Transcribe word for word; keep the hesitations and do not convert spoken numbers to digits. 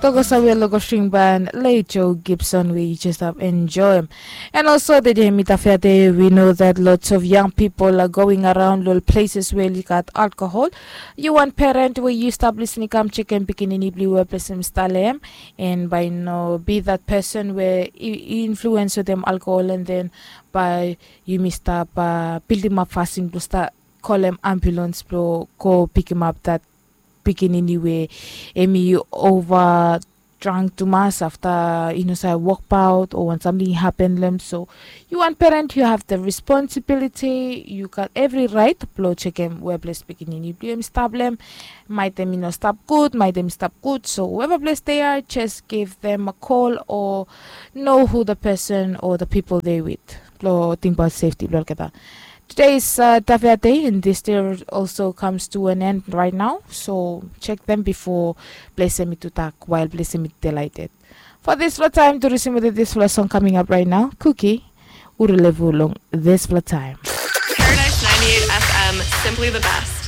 Tokosa we long go string ban late Joe Gibson we you just have enjoy. And also the day mita fair day we know that lots of young people are going around little places where you got alcohol. You want parent where you stop listening come check and picking in blue we bless him stalem. And by no be that person where influence with them alcohol and then by you may stop uh, build him up fasting to start call him ambulance blo go pick him up that pikinini we emi over drunk tumas afta i no save wokbaot o wan samting i hapen lem so you wan parent you have the responsibility you got every right blo chekem where ples pikinini bliem stap lem. Maitem i no stap gud maitem i stap gud so whoever place they are just give them a call or know who the person or the people they with blo think about safety blo olgeta. Today's uh, Tavia Day, and this day also comes to an end right now. So check them before blessing me to talk while blessing me delighted. For this floor time, to receive with this floor song coming up right now, Cookie, Urulevulung, this floor time. Paradise ninety-eight F M, simply the best.